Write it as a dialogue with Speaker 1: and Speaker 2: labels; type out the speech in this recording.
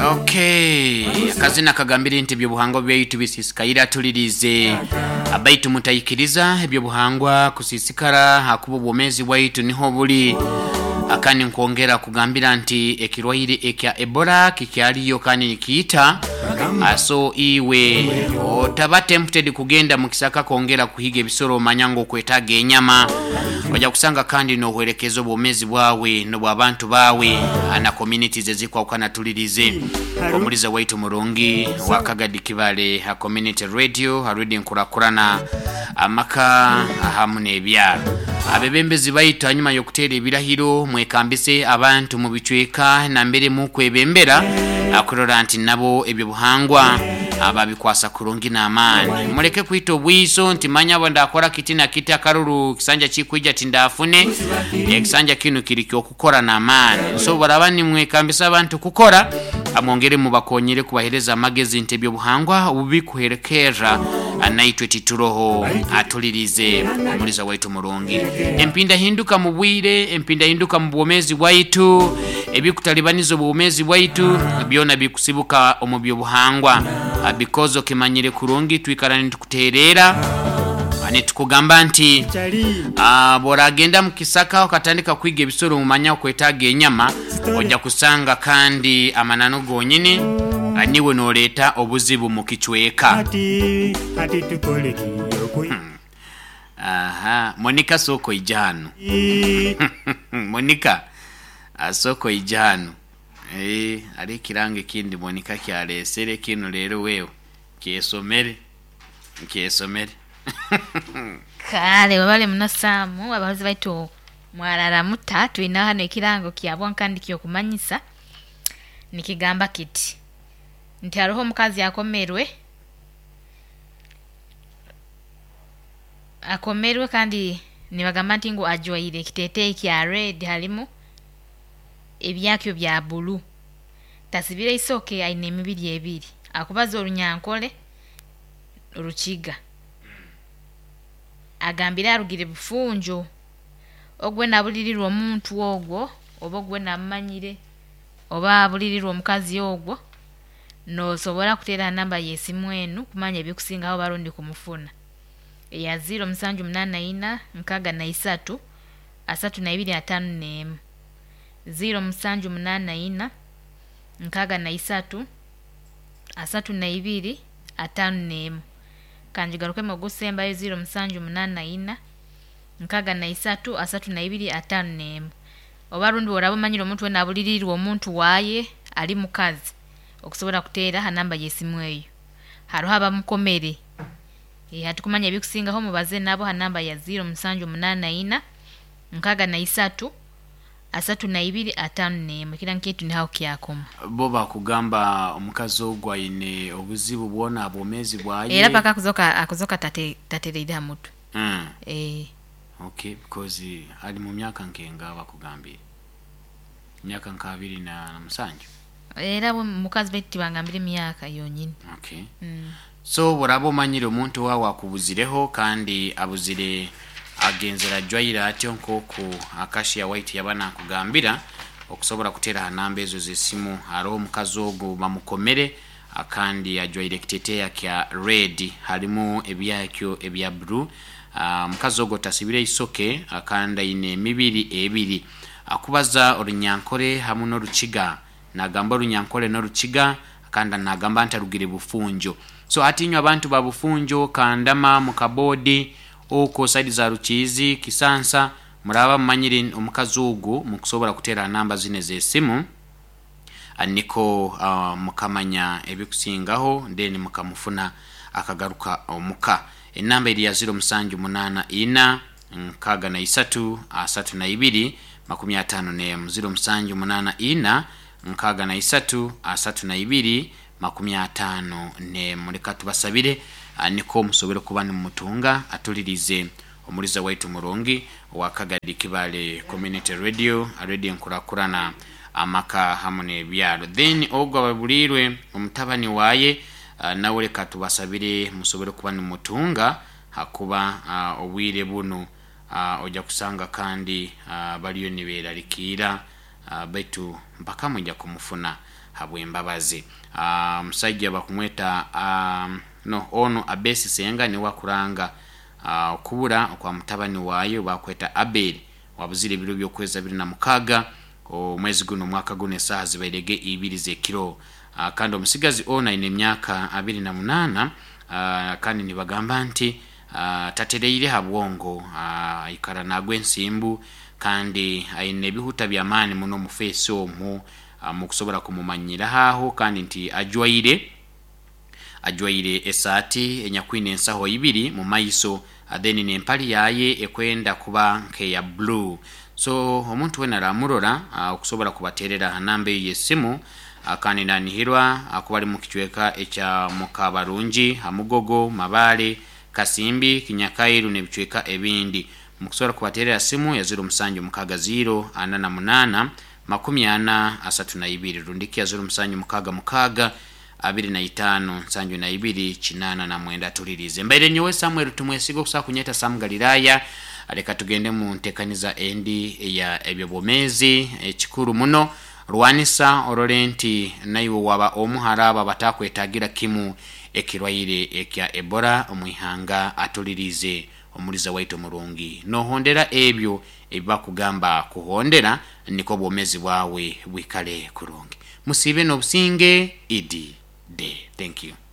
Speaker 1: Okay, akazina kagambire nti ebyobuhangwa byaitu bisisikaire atulirize abaitu mutaikiriza ebyobuhangwa kusisikara hakuba obwomezi bwaitu niho buli. Akandi nkwongera kugambira nti ekirwaire ekya Ebola kikyaliyo kandi nikiita, so iwe otaba tempted kugenda mukisaka kwongera kuhiga ebisoro omanya ngu okwetaaga enyama, oja kusanga kandi nohwerekeza obwomezi bwawe nobw'abantu bawe na communities ezikwahukana. Tulirize omuliza waitu murungi wa Kagadi Kibale Community Radio, Radio Nkurakurana, amaka ahamu n'ebyaro. Abebembezi baitu hanyuma y'okuteera ebirahiro mwekambise abantu mu bicweka nambere mukwebembera kurora nti nabo ebyobuhangwa babikwasa kurungi n'amaani. Muleke kwita obwiso nti manya abo ndakora kiti na kiti akaruru kisanja kikwija tindafune. Ekisanja kinu kiri ky'okukora n'amaani. So baraba nimwekambisa abantu kukora, amwongere mubakonyere kubahereza amagezi nti ebyobuhangwa obubikuherekerra naitwe tituroho. Atulirize omuliza waitu murungi. Empindahinduka mu bwire, empindahinduka mu bwomezi bwaitu, ebikutalibaniza obwomezi bwaitu byona bikusibuka omu byobuhangwa. Because okimanyire kurungi twikara nitukuterera nitukugamba nti bworagenda mu kisaka okatandika kwiga ebisoro mumanya okwetaaga enyama, ojja kusanga kandi amananu gonyini niwe noleeta obuzibu mu kicweka. Aha, Monica sooka oija hanu. Monica sooka oija hanu. Hariho ekirango ekindi Monica kyalesere kinu leero wewe kyesomere, kyesomere.
Speaker 2: Kale webale muno Sam, abahozi baitu mwarara muta? Twine hano ekirango kya bwangu kandi ky'okumanyisa nikigamba kiti nti haroho omukazi akomerwe akomerwe kandi nibagamba nti ngu ajwaire ekiteteeyi kya red harimu ebyakyo bya bulu, tasibire isoke aine emibiri ebiri, akubaza orunyankore orukiga, agambire arugire Bufunjo, ogu weena abulirirwe omuntu ogwo oba ogu weena amumanyire oba abulirirwe omukazi ogwo, nosobora kuteera ha namba y'esimu enu kumanya ebikusingaho oba rundi kumufuna eya ziiro musanju munaana ina nkaaga na isatu asatu na ibiri ataano n'emu, ziiro musanju munaana ina nkaaga na isatu asatu na ibiri ataano n'emu. Kangigarukemu ogusembayo ziiro musanju munaana ina nkaaga na isatu asatu na ibiri ataano n'emu. Oba rundi oraba omanyire omuntu weena abuliriirwe omuntu waaye ari mukazi, okusobora kuteera ha namba y'esimu eyo. Haroho abamukomere, hati kumanya ebikusingaho mubaze nabo ha namba ya ziiro musanju munaana ina nkaaga na isatu asatu na ibiri ataano n'emu. Ekirango kyaitu nihaho kyakoma.
Speaker 1: Bo bakugamba omukazi ogwo aine obuzibu bwona ha bwomezi bwaye.
Speaker 2: Era paka akuzoka akuzoka tatereire ha mutwe.
Speaker 1: Okay, because ali mu myaka nkenga bakugambire? Myaka nka 27.
Speaker 2: Era bo mukazi baitu tibangambire emyaka yonyini.
Speaker 1: Okay. So boraba omanyire omuntu wawe akubuzireho kandi abuzire agenzere ajwaire atyo nkoku Acacia White yaba nakugambira, okusobora kuteera ha namba ezo z'esimu. Haroho omukazi ogu bamukomere kandi ajwaire ekiteteeya kya red harimu ebyakyo ebya blue. Omukazi ogwo tasibire isoke kandi aine emibiri ebiri. Akubaza orunyankore hamu n'orukiga. Nagamba orunyankore n'orukiga kandi nagamba nti arugire Bufunjo. So hati inywe abantu ba Bufunjo, Kandama, Mukabodi, okwo saidi za Rukiizi, Kisansa, muraba mumanyire omukazi ogu mukusobora kuteera ha namba zinu ez'esimu niko mukamanya ebikusingaho then mukamufuna akagaruka omuka. Enamba eri ya ziro musanju munaana ina nkaaga na isatu asatu na ibiri makumi ataano n'emu, ziro musanju munaana ina nkaaga na isatu asatu na ibiri makumi ataano n'emu. Leka tubasabire niko musobole kuba nimumutunga atulirize omuliza waitu murungi owa Kagadi Kibale Community Radio, Radio Nkurakurana, amaka hamu n'ebyaro. Then ogwo ababuliirwe omutabani waye nawe leka tubasabire musobole kuba nimumutunga hakuba obwire bunu oja kusanga kandi baliyo niberalikiira baitu mpaka mwija kumufuna. Habwembabazi. Omusaija bakumweta no ono Abesi Senga niwe akuranga okubura okwa mutabani waayo bakweta Abel, wabuzire ebiro by'okwezi 26 omwezi guno omwaka guno, esaaha zibairege 2 z'ekiro. Kandi omusigazi ono aine emyaka 28, kandi nibagamba nti tatereire ha bwongo, aikara nagwa ensimbu kandi aine ebihuta by'amaani muno mu feesi omwo, mukusobora kumumanyiraho aho, kandi nti ajwaire esaati enyakwine ensaho ibiri mu maiso, then n'empali yaye ekwenda kuba nk'eya blue. So omuntu wena aramurora, okusobora kubaterera ha namba eyo y'essimu. Kandi nanihirwa kuba ali mu kicweka ekya Mukabarungi, Hamugogo, Mabale, Kasimbi, Kinyakairu n'ebicweka ebindi, mukusobora kubaterera simu ya 0760 48 40 32, rundiki ya 0766 25 72 89. Tulirize mbaire nyowe Samuel Tumwesiga, okusobola kunyeta Sam Galilaya. Leka tugende mu ntekaniza endi eya ebyobwomeezi. Ekikuru muno, rwanisa orole nti naiwe waba omu haraba batakwetagira kimu ekirwaire ekya Ebola omwihanga. Atulirize omuliza waitu omurungi, nohondera ebyo ebibakugamba kuhondera, niko obwomezi bwawe bwikale kurungi. Musiibe n'obusinge. Idi de thank you.